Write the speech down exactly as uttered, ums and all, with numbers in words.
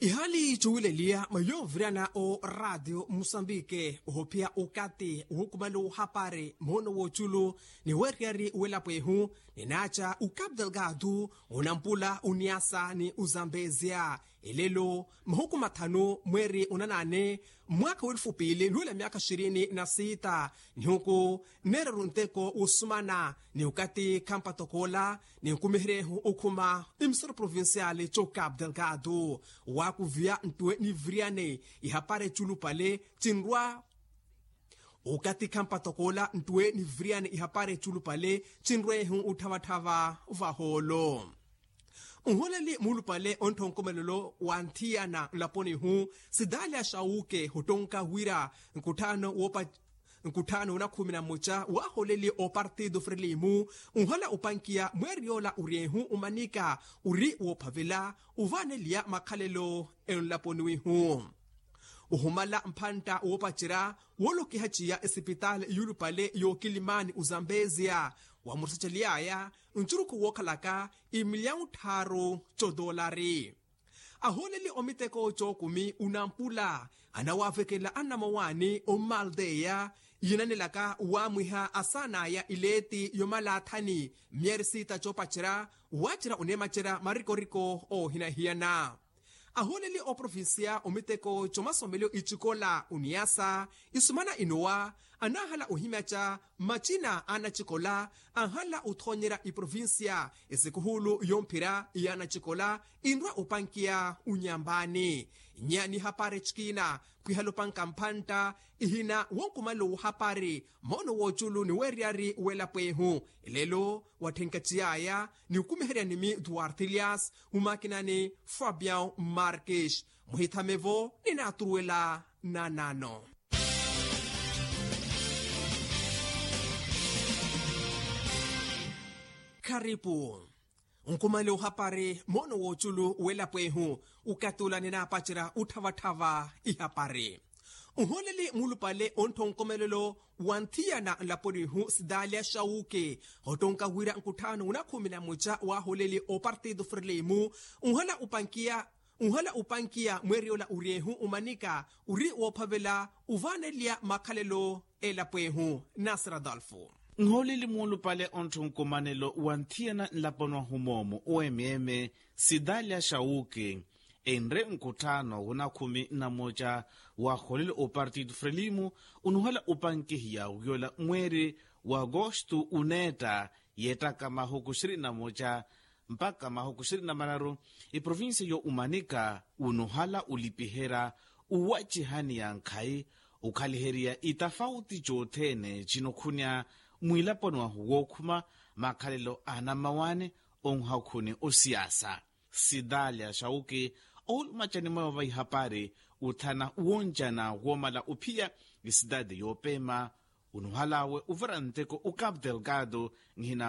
Ihaali cuwileliya mwa yoovirana o ratio musambike ohophiya okati wuhukumale ohapari moono wooculu ni weeriyari welapo ehu, ninaaca ukapu delgado, unampula uniasa ni uzambezia. Elelo mahuku mathanu mweeri unanaane, mwaakha weelufu piili nuwela myaakha xirini na siita, nihuku neeraru nteko wosumana ni okati khampatokoola, ni nkumiheryehu okhuma imisoro provinciali co capu delgado, waakuviya ntuwe ni viriyani ihapari eculupale cinrwa. Okati khampatokoola ntuwe ni viriyani ihapari eculupale cinrwehu utthavatthava vahoolo. Nholeli muulupale onttha onkomelelo wa nthiyana nlaponi ihu, sidalya xawuke hottonka wira nkutthaano woopa nkutthaano na khumi na mmoja waaholeli opartido frelimu, nhala opankiya mweeri yoola ori ehu umanika ori woophavela ovaaneliya makhalelo enlaponi wihu. Ohumala mphantta woopacerya woolokiha ciya esipitaali yuulupale yookilimani ozambezia, wamurusaceliyaya ncurukhu wookhalaka imilyawu tthaaru cotoolari. Ahooleli omiteko cookumi unampula anawaavekelela anamawaani ommaldeya yinanelaka waamwiha asaanaya ileeti yomalaathani myeeri siita coopacerya, waacerya oneemacerya marikoriko oohinahiyana. Ahooleli oprovincia omiteko comasomelo icikola uniasa isumana inowa anaahala ohimyaca macina a anacikola anhala othoonyerya iprovincia esikuhulu yomphira ya anacikola inrwa opankiya unyambaani. Nya ni hapari cikina khwihala opanka mphantta ihina wonkumalo wohapari moono wooculu ni weeriyari welapo ehu. Elelo watthenka ciyaya ni okumiherya nimi duarte elias, mumakinani fabian marques. Muhithamevo ninaaturuwela nanano. Kharipu nkumale ohapari moono wooculu welapo ehu. Okatula ninaapacerya otthavattava ihapari. Nholeli muulupale onttha onkomelelo wa nthiyana nlaponi ihu sidalya xawuke hottonka wira nkutthaano na khumi na mmoja waaholeli opartido frelimu, nhala opankiya nhala opankiya mweeri yoola ori ehu umanika ori woophavela ovaaneliya makhalelo elapo ehu. Nasir adolfo. Nhooleli muulupale onttha onkomanelo wa nthiyana nlaponi wahu moomo omm sidalya xawuke enre nkutthaano na khumi na mmoja waaholeli opartido frelimu, onuhala opankihiya wiyoola mweeri wa agosto uneetta yeettaka mahuku xirini na mmoja mpakha mahuku xirini na mararu. Eprovincia yo umanika unuhala olipiherya uwacihani ya nkhayi okhaliheriya itafauti cothene cinokhunya mwilaponi wahu wookhuma makhalelo a anamawaani onhakhuni osiyasa. Sidalya xawuki oulumacani mweewa va ihapari uthana woncana woomala ophiya esidade yoopema unuhalawe ovira nteko ocapu delgado nhina